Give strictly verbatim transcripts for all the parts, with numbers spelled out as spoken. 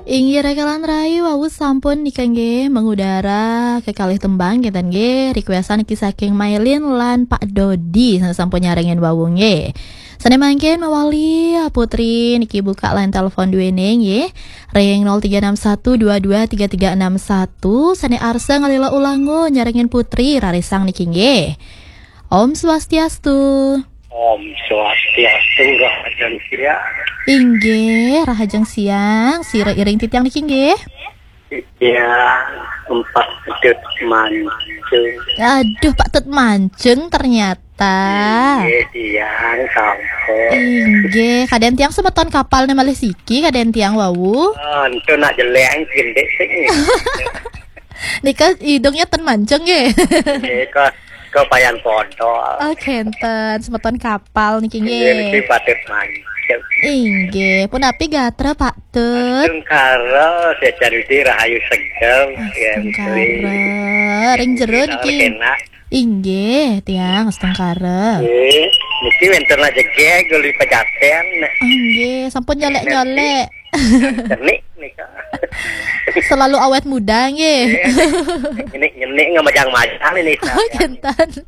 Inggih rakalan rai, wau sampun nika nggih mengudara kekalih tembang ngeten nggih, requestan niki saking Mailin lan Pak Dodi sampun nyarengin wau nggih. Sane mangkin mawali Putri niki buka line telepon duene nggih. Ring nol tiga enam satu dua dua tiga tiga enam satu, sane arsa ngalila ulangun nyarengin Putri rarisang niki nggih. Om Swastiastu. Om Swastiastu, rahajeng siang. Inggih, rahajeng siang. Sira iring titiang niki nggih. Iya, empat Tut Mancung. Aduh, Pak Tut Mancung ternyata. Iya, tiang sampun. Inggih, kaden tiang semeton kapal ne malih siki, kaden tiang wau. Oh, entu nak jeleng kindik sing. Nika idungnya ten mancung nggih. Nggih, kok, kok payan podol. Oh, kenten, semeton kapal niki nggih. Nggih, niki Pak Tut Mancung. Inggih, punapi gatra Pak Tut? Astungkara, sejan widi rahayu seger, ya, Astungkara. Ring jero niki. Enak. Inggih, tiang astungkara. Nggih, niki wenten aja geg guli pejaten. Inggih, sampun nyolek-nyolek. Cenik nika. Selalu awet muda nggih. Nyenik-nyenik ngamajang-majang ini. Oh, kenten.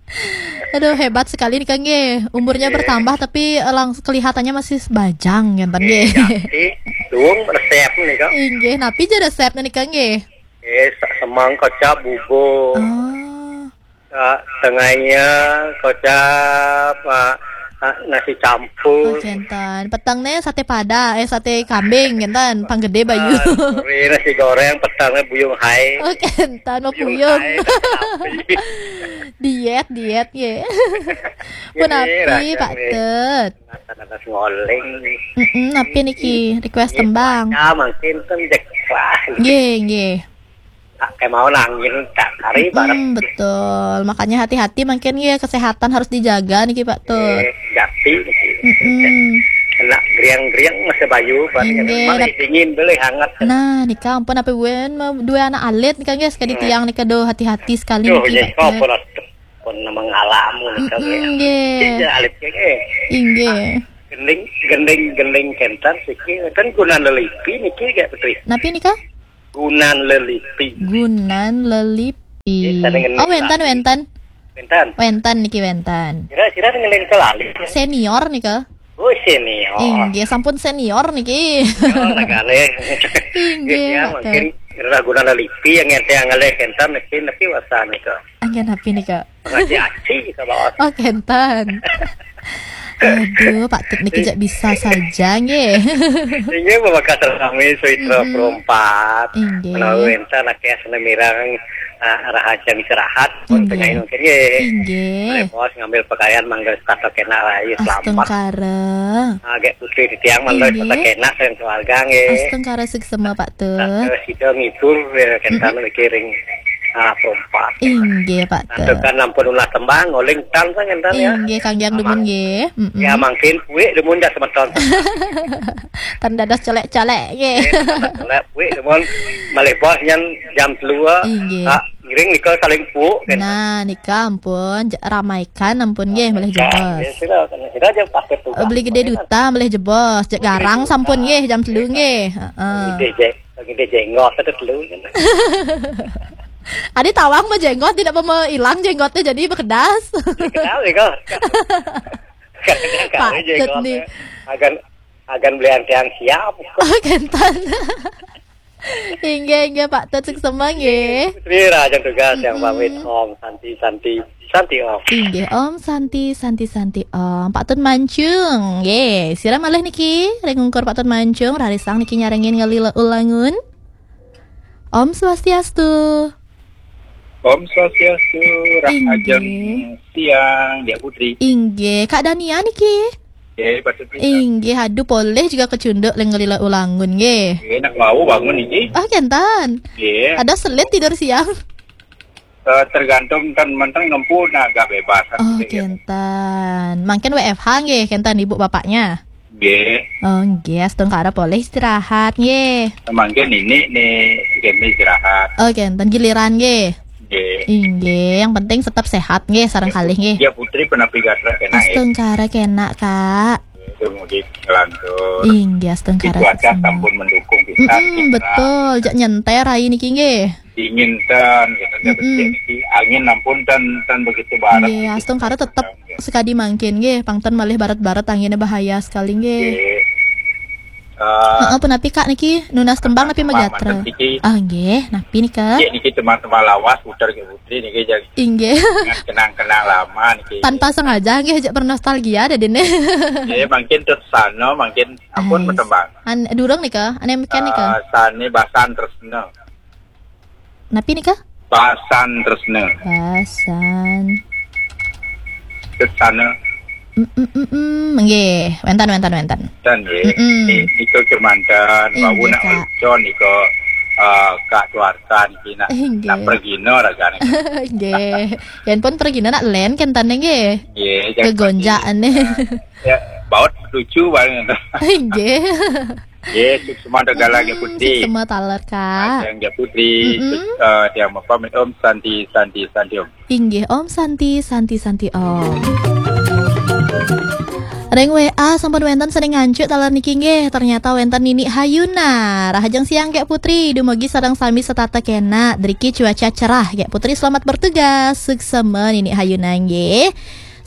Aduh, hebat sekali nika nggih. Umurnya bertambah tapi, eh, langs-, kelihatannya masih bajang ngenten nggih. Jadi, duung resep nika. Inggih, napi ja resep nika nggih? Eh, sa-, semang kecap bubur. Oh. Ah, tengahnya kecap, ah, ah, nasi campur. Oh, kenten. Petengnya sate padang, eh, sate kambing, kenten. Pang gede bayu. Ah, sore nasi goreng, petengnya buyung hai. Oh, kenten, mau buyung. Hai, nasi sapi. Diet, diet, ya. Punapi, Pak Tut? Nanas ngoling. Mm-mm, napi niki request tembang? Ya, mungkin kan jek lah. Nggih, nggih. Tak kayak mau nangin, tak kari bareng. Mm, betul. Makanya hati-hati mungkin ya, kesehatan harus dijaga niki, Pak Tut. Eh, jati niki. Mm-mm. Kena griang-griang masih bayu, bareng. Inggih, malah dingin, boleh hangat. Nah, nika ampun apa wen mau dua anak alit nika, guys, kadi tiang nika do hati-hati sekali niki. Apa lah, pun nama ngalamun nika, nggih. Iya, alit nggih. Inggih. Ah, gending, gending, gending kenten siki, kan gunan lelipi niki, gak, Putri? Napi nika? Gunan lelipi. Gunan lelipi. Nggih, sane ngening lali. Oh, wenten, wenten. Wenten. Wenten niki wenten. Kira-kira ngening ke lali. Senior nika. Oh, senior. Inggih, sampun senior niki. Oh, nagale. Inggih, ya, mungkin kira gunan lelipi yang ente anggale kenten niki, nepi wasa nika. Anggen napi nika? Ngaji aci kita bawa. Oh, kenten. Aduh, Pak Tut niki jak bisa saja nggih. Inggih, Bapak Kasar kami, Suitra Perumpat. Inggih. Menawi enten akeh sene mirang, ah, rahaja istirahat, pun penyanyi mungkin nggih. Inggih. Boleh bos ngambil pakaian mangga sepatu kena lah, ya, selamat. Astungkara. Ah, gek putri di tiang mangga sepatu kena, sayang keluarga nggih. Astungkara suksema, Pak Tut. Sida ngibur, ya, kenten mikiring, ah, Perumpat. Inggih, Pak Tut. Tekan ampun ulah tembang, ngoling tang, kan, enten, ya. Inggih, Kang Jang demen, nggih. Mm-mm. Ya, mungkin kuwi demen dah semeton. Tan dados colek-colek, nggih. Nggih, colek kuwi demen malih bos nyen jam telu. Inggih. Tak ngiring nika saling puk, kan. Nah, nika ampun, j-, ramaikan ampun, nggih, malih jebos. Nggih, sira, sira aja pakai tugas. Beli gede duta, malih jebos. Jek garang sampun, nggih, jam telu, nggih. Heeh. Gede jek. Lagi dia jenggot, ada telu. Adi tawang mah jenggot, tidak mau hilang jenggotnya, jadi bekedas. Kenal ya, kok? Pak Tut nih. Agan, agan belian tiang siap. Oh, kenten. Inggih, inggih, Pak Tut, suksema nggih. Putri Raja tugas yang pamit, Om Santi, Santi, Santi, Om. Inggih, Om Santi, Santi, Santi, Om. Pak Tut Mancung, nggih. Sira malih niki, ring ungkur Pak Tut Mancung, rarisang niki nyarengin ngalila ulangun. Om Swastiastu. Om Swastiastu, rahajeng siang, Diak Putri. Inggih, Kak Dania niki. Nggih, Pak Tut. Inggih, aduh, polih juga kecunduk ring ngalila ulangun, nggih. Nggih, nak mau bangun niki. Oh, kenten. Nggih. Ada selit tidur siang. Eh, tergantung kan, menteng ngempu, nah, agak bebas. Oh, kenten. Mangkin W F H nggih, kenten ibu bapaknya. Nggih. Oh, nggih, astungkara polih istirahat, nggih. Mangkin ini nih, kene istirahat. Oh, kenten giliran nggih. Nggih. Inggih, yang penting tetap sehat nggih, sareng kalih nggih. Ya, Putri, penapi gatra kena, nggih. Astungkara kena, Kak. Nggih, Mudik ngelantur. Inggih, astungkara Cuaca suksma. Sampun mendukung pisan. Mm-mm, betul, jak nyenter hari niki nggih. Dingin ten, gitu, ndak Mm-mm. becik niki. Angin ampun ten, ten begitu barat. Nggih, astungkara tetep sekadi mangkin nggih, pang ten malih baret-baret anginnya bahaya sekali nggih. Nggih. Eh, Heeh, punapi Kak niki nunas tembang napi mah magatra? Niki, Ah, nggih, napi nika? Nggih, niki teman-teman lawas putar ke putri niki, jadi Inggih. kenang-kenang lama niki. Tanpa sengaja nggih, jak bernostalgia dadine. Nggih, mungkin tersana, mungkin ampun Ais. Tembang. An durung nika, ane meken nika. Eh, sane Basan Tresna. Napi nika? Basan Tresna. Basan. Tersana. Mm, mm, mm, mm. Nggih, wenten, wenten, wenten. Dan ya, Mm-mm. Niko kemantan, Inggih, Bawu nak Kak. Con, Niko eh, Kak Tuarta niki nak Inggih. Nak pergino ragane. Nggih. Yen pun pergi nak len kentane nggih. Nggih, jangan Kegonjaan nih. Ya, baut lucu banget. Nggih. Nggih, suksma dalam ya putri. Suksma taler, Kak. Yang ya putri, Mm-mm. eh, dia apa? Om Santi, Santi, Santi Om. Inggih, Om Santi, Santi, Santi Om. Ring W A sampun wenten sing ngancuk taler niki nggih. Ternyata wenten Nini Hayuna. Rahajeng siang Kak Putri, dumugi sareng sami setata kena. Driki cuaca cerah Kak Putri, selamat bertugas. Suksma Nini Hayuna nggih.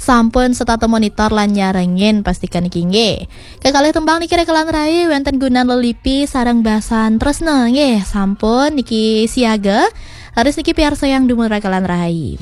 Sampun setata monitor lan nyarengin pastikan niki nggih. Kekalih tembang niki rekelan rai wenten Gunan Lelipi sareng Basan Tresna nggih. Sampun niki siaga. Harus niki piarsayang dumun rekelan rai.